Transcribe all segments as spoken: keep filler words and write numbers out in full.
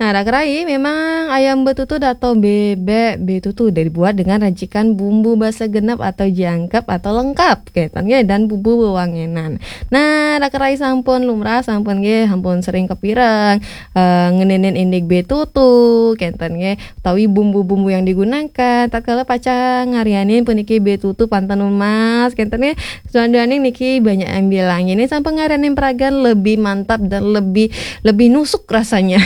Nah, Raka Rai, memang ayam betutu atau bebek betutu dibuat dengan racikan bumbu basa genep atau jangkep atau lengkap, kénten nggih, dan bumbu wewangenan. Nah, Raka Rai sampun lumrah, sampun nggih, sampun sering kepireng eh, ngeninin indik betutu, kénten nggih, utawi bumbu-bumbu yang digunakan. Tatkala pacang ngarianin puniki betutu panten emas, kénten nggih, saduaning niki banyak yang bilang, ini sampun ngarianin peragan lebih mantap dan lebih, lebih nusuk rasanya.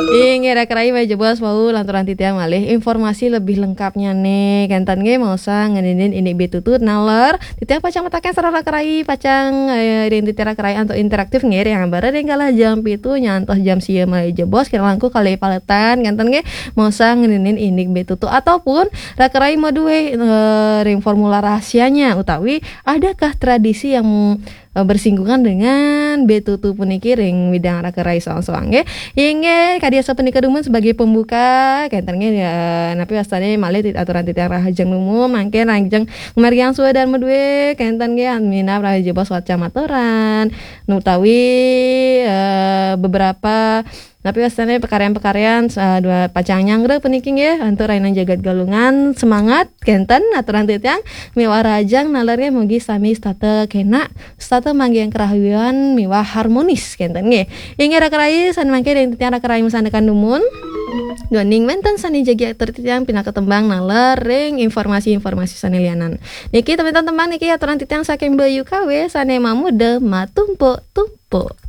Inggih, Raka Rai, malih jebos wau lanturang titiang malih informasi lebih lengkapnya nih. Kénten nggih, maosang ngeninin indik betutu naler titiang pacang mataken sareng Raka Rai, pacang eh, ring titiang Raka Rai antuk interaktif nggih, ring ambara ring galah jam pitu nyantos jam sia malih jebos, kirang langkung kalih paletan, kénten nggih, maosang ngeninin indik betutu ataupun Raka Rai madué eh, ring formula rahasianya utawi adakah tradisi yang eh, bersinggungan dengan betutu puniki ring widang Raka Rai soang-soang nggih. Inggih, kadi sapunika dumun sebagai pembuka, kénten nggih, eh, napi wastané malih tit-, aturan titiang rahajeng dumun, mangkin rahajeng margiang suédan madué, kénten nggih, minab rahajeng jebos wacang maturan, utawi eh, beberapa napi wastané pakaryan-pakaryan eh, dua pacang nyanggra puniki nggih, antuk rahinaning jagat Galungan, semangat, kénten, aturan titiang, miwah rahajeng naler nggih, mugi sami setata kénak, setata manggihin karahayuan miwah harmonis, kénten nggih. Inggih Raka Rai, sané mangkin ring titiang Raka Rai masandekan dumun. Duaning wénten sané jagi atur titiang pinaka tembang naler ring informasi-informasi sané lianan. Niki tembang-tembang niki aturan titiang saking Bayu K W sané mamuda matumpuk-tumpuk.